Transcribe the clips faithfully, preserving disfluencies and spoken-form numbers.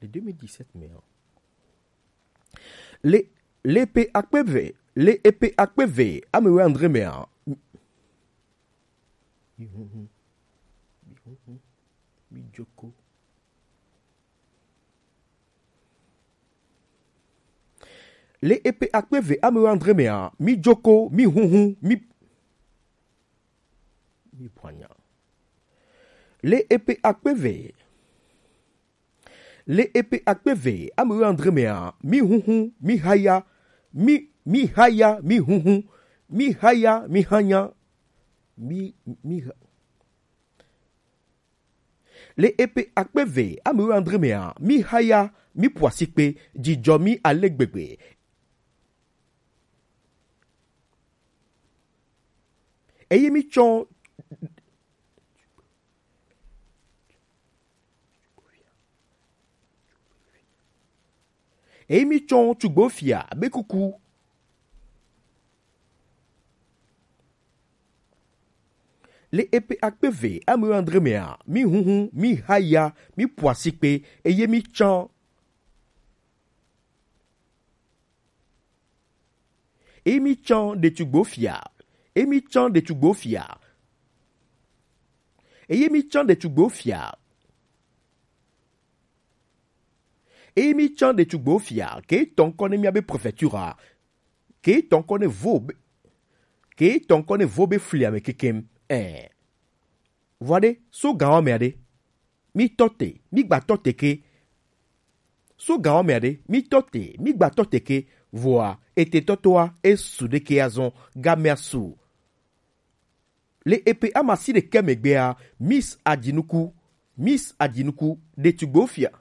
Le deux mille dix-sept mea, le le pe akpe eve le epe akpe eve ame wuiadre mea, mi huhu mi huhu mi joko. Le epe akpe eve ame wuiadre mea, mi joko, mi huhu, mi mi bwanya. Le epe akpe eve le epe akpe eve ame wuiadre mea, mi huhu, mi haya, mi mi haya, mi huhu, mi haya, mi hanya, mi mi ha- le epe akpe eve ame wuiadre mea, mi haya, mi ƒo asikpe, dzidzɔ mi ale gbegbe. Eye mi tsɔ eye mi tsɔ tugbo fia be kuku. Le epe akpe eve ame wuiadre mea, mi huhu, mi haya, mi ƒo asikpe, eye mi tsɔ eye mi tsɔ ɖetugbo fia eye mi tsɔ ɖetugbo fia eye mi tsɔ ɖetugbo fia eye mi tsɔ ɖetugbo fia ke tɔ ŋkɔ ne mia be prefecture ke tɔ ŋkɔ ne vo be ke tɔ ŋkɔ ne vo be fli ame kekem. Ɛ vɔ ɖe so gan wa mea ɖe mi tɔ te mi gba tɔ te ke so gan wa mea ɖe mi tɔ te mi gba tɔ te ke vɔa ete tɔtɔa esu ɖeke azɔn gamea su. Le epe amasi ɖekɛ megbea, Miss Adzinuku, Miss Adzinuku ɖetugbewo fia,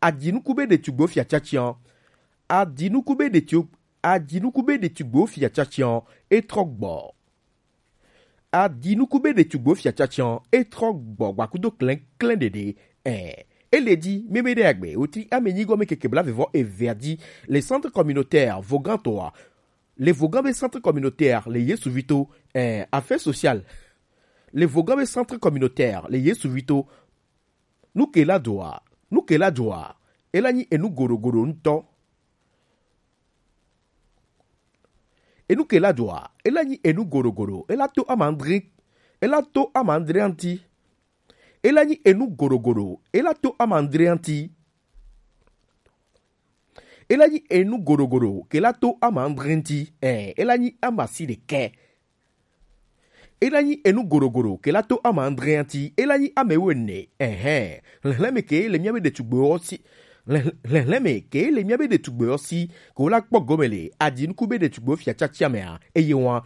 Adzinuku be ɖetugbewo fia tiatian, Adzinuku be ɖetu, Adzinuku be ɖetugbewo fia tiatian, etrɔ gbɔ. Adzinuku be ɖetugbewo fia tiatian, etrɔ gbɔ gbakudo klɛnklɛn ɖeɖe. Ɛ, ele di meme ɖe agbe wotri ame nyigɔ me keke bla vevɔ evea di le centre communautaire Vogantoa le Vogan be centre communautaire le Yesu Vito, eh, affaires sociales. Le Vogan be centre communautaire le Yesu Vito. Nu ke la doa, nu ke la doa, ela nyi enu goɖogoɖo ŋutɔ. Enu ke la doa, ela nyi enu goɖogoɖo, ela to amandre, ela to amandre ŋuti. Ela nyi enu goɖogoɖo, ela to amandre ŋuti. Ela nyi enu goɖogoɖo ke la to amandre ŋuti. Ɛ, ela nyi amasi ɖekɛ. Ela nyi enu goɖogoɖo ke la to amandre ŋuti. Ela nyi ame wuiene. Ɛhɛn. Hlɛnhlɛn me ke le mía be ɖetugbewo si. Hlɛnhlɛn me ke le mía be ɖetugbewo si. Ke wo la kpɔ gome le Adzinuku be ɖetugbewo fia tiatia mea. Eye wa